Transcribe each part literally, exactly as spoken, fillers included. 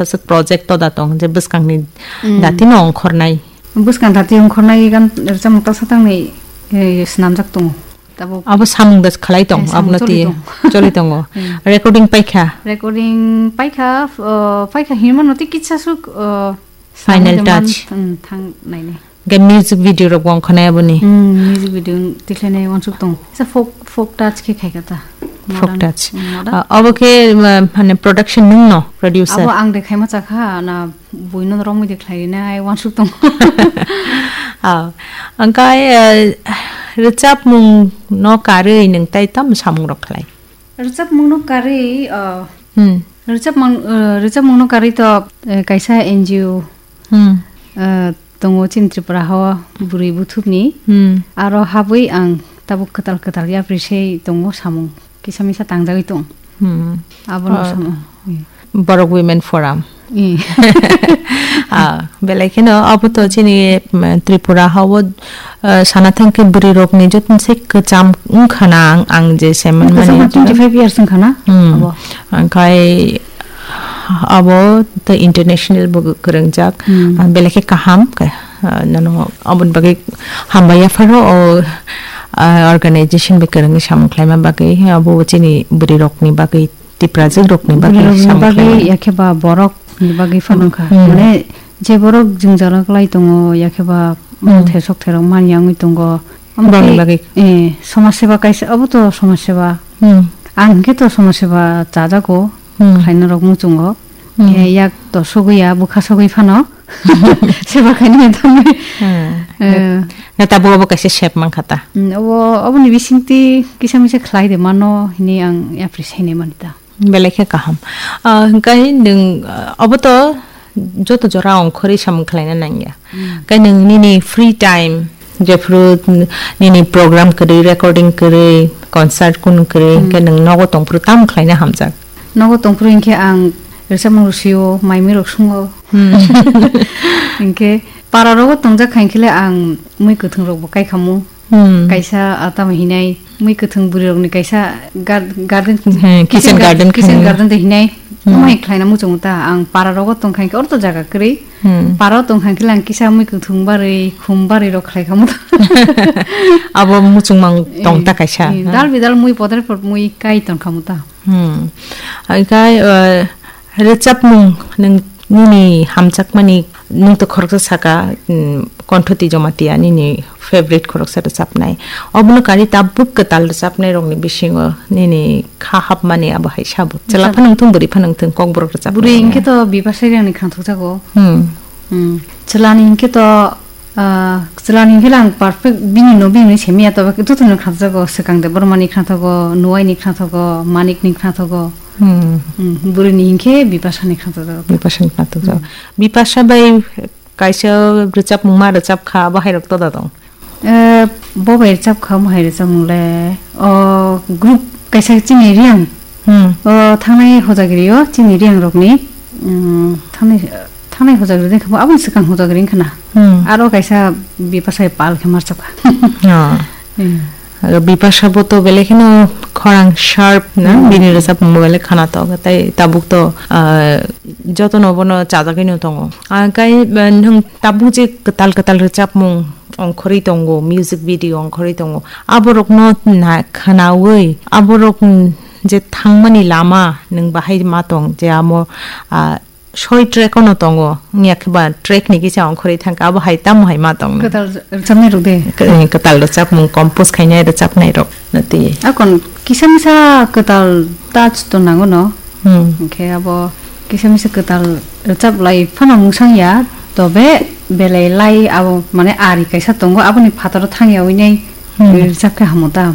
Aswk project to da tong je bwskangni Hmm. dati no ongkhornai. Bwskang dati ongkhornai gan rwchapmung tasa tangnai, eh, swnamjak tongo. Tabuk Abo samung da khlai tong, Eh, sam abono choli ti tong. choli tongo. Hmm. Recording paikha. Recording paikha, uh, paikha hinmano tei kitsa suk, uh, Final swnamwi touch. Thang, hmm, thang nainai. Ge music video rok bo ongkha nai aboni. Hmm, music video tikhlainai uansuk tong. Sa folk, folk touch khe khaikha ta. Folk Modern, touch. Hmm, modern. Ah, abo khe, ma, mane production nung no, producer? Abo ang de khaima chakha, na buino romwi de khlainai uansuk tong. Ah, angkai, eh, rwchapmung no karwi nung tai tam samung rok khlai? Rwchapmung no karwi, ah, Hmm. rwchapmung, eh, rwchapmung no karwi to, eh, kaisa N G O, Hmm. eh, tongo chini Tripura hao bwrwi buthupni. Hmm. Aro habwi ang tabuk kwtal kwtal yapri se tongo samung kisa misa tangjagwi tong. Hmm. Abono Oh. samung. Borok Women Forum. Eh. Ah, belai kheno abo to chini, mm, Tripura hao, eh, sana thangkhe bwrwi rokni joto se kwcham wngkha na ang, ang je se man Kwcham mani twenty-five years wngkha na? Hmm. Abo. Angkhai abo tei international bo kwrwngjak. Hmm. Ah, belai khe kaham, ka-, ah, nono aboni bagwi hambai yapharo o, ah, organization bai kwrwngwi samung khlaima bagwi, abo chini bwrwi rokni bagwi, Tiprajwk rokni bagwi Bwrwi rokni samung bagwi khlaimani. Yakhe ba borok ni bagwi phano wngkha. Hmm. Mane je borok jwngjal wng klai tongo, yakhe ba Hmm. thesok therok man ya wngwi tongo. Omo Borokni tei, bagwi. eh, somaj seba kaisa, abo to somaj seba. Hmm. Ang hwnkhe to somaj seba chajago, Hmm. khlaina rok muchungo. Hmm. Eh, yak to sogwi ya, bwkha sogwi phano. Seba khainai thangwi. Hmm. Eh. Na tabuk abo kaisa sep mankha ta. Hmm, obo, oboni bisingtwi kisa misa khlai de mano hwnwi ang yapri sainai mani ta. Belai khe kaham. Ah, hwnkhe nwng, ah, obo to joto jora ongkhorwi samung khlaina nangya. Hmm. Khe nwng nini free time, jephru nini program kwrwi, recording kwrwi, concert kunu kwrwi, Hmm. hwnkhe nwng nogo tongphru tamo khlaina hamjak? Nogo tongphru hinkhe ang rwchapmung rwsio, mai mui rok sungo. Hmm. Hinkhe para rogo tongjak kha hinkhele ang mui kwthwng rokbo kaikhamu. Hmm. Kaisa, ah, tamo hinai mui kwthwng bwrwi rokni kaisa gar-, garden, He, kitchen kitchen gar-, garden kitchen khainai. Garden de hinai. Hmm. Omo hai khlaina muchungo ta ang para rogo tongkha hinkhe orto jaga kwrwi. Hmm. Para tongkha hinkhele ang kisa mui kwthwng barwi, khum barwi rok khlai khamu ta. Abo muchungmang tong ta Eh, kaisa, eh, ha? Dal bidal mui podre pod mui kai tongkhamu ta. Hmm. Haikhai, eh, rwchapmung nwng nini hamjakmani nwng to khoroksa saka, mm, Kontho Twi Jamatia nini favorite khoroksa rwchapnai. Obono karwi tabuk kwtal rwchapnai rokni bisingo nini kha hapmani abo hai sabo. Chwla Rwchap- phano wngthung, bwrwi phano wngthung, kokborok rwchapnai Bwrwi rok. Hinkhe to Bipasha Reang ni khangthokjago. Hmm. Hmm. Chwlani hinkhe to Ah, chwlani hwnkhe ang perfect bini no bini simi ya, tobe joto no khatjago, swkang de bormani khathogo, nuai ni khathogo, manik ni khathogo. Hmm. Hmm, bwrwi ni hwnkhe Bipasha ni khathogo. Bipasha ni khathogo. Hmm. Bipasha bai kaisa rwchapmung ma rwchap kha, abo hai rok toda tong. Eh, bo bai rwchap kha, omo hai rwchapmung le, o group kaisa chini Reang. Hmm. O thangnai hojagiri o chini Reang rokni, mm, thangnai, thangnai hojagiri de kha, aboni swkang hojagiri wngkha na. Hmm. Aro kaisa Bipasha pal khe mar chapkha. Oh. Hmm. Aro Bipasha bo to belai kheno khorang sharp na, Hmm. bini rwchapmung bo belai khana tongo, tei tabuk to, ah, jotono bono chajagwi no tongo. Ah, kai, ah, nwng tabuk je kwtal kwtal rwchapmung ongkhorwi tongo, music video ongkhorwi tongo, aborokno na-, khwnaui aborok, mm, je thangmani lama nwng bahai ma tong je amo, ah, soi track-o no tongo, wngya khe ba track ni kisa ongkhorwi thangkha, abo hai tamo hai ma tong nw? Kwtal rwchapnai rok de? K-, eh, kwtal rwchapmung, compose khainai rwchapnai rok no twi. Akon kisa misa kwtal touch to nango no. Hmm. Hwnkhe abo kisa misa kwtal rwchap lai phano mungsang ya, tobe belai lai abo mane ari kaisa tongo, aboni phataro thang ya ui nai Hmm. rwchap khe hamo ta.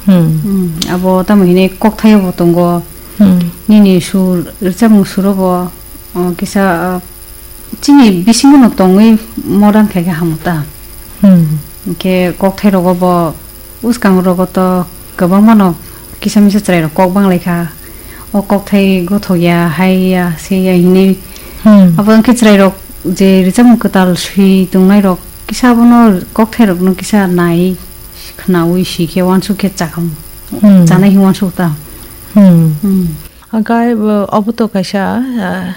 Hmm. Hmm, abo tamo hinwi kokthai bo tongo. Hmm. Nini sur, rwchapmung suro bo, o, kisa, o, chini bisingo no tongwi modern khai khe hamo ta. Hmm. Hwnkhe kokthai rogo bo, bwskang rogo to kwbangma no kisa misa chwrai rok kok bang lai kha. O kokthai gothok ya, hai ya, se ya hinwi. Hmm. Abo wngkhe chwrai rok je rwchapmung kwtal swi tongnai rok kisa abono kokthai rok no kisa nai khwnaui swi khe uansuk khe chakam Hmm. chanai hinwi uansuk ta. Hmm. Hmm. Hwnkhe, uh, obo to kaisa, uh,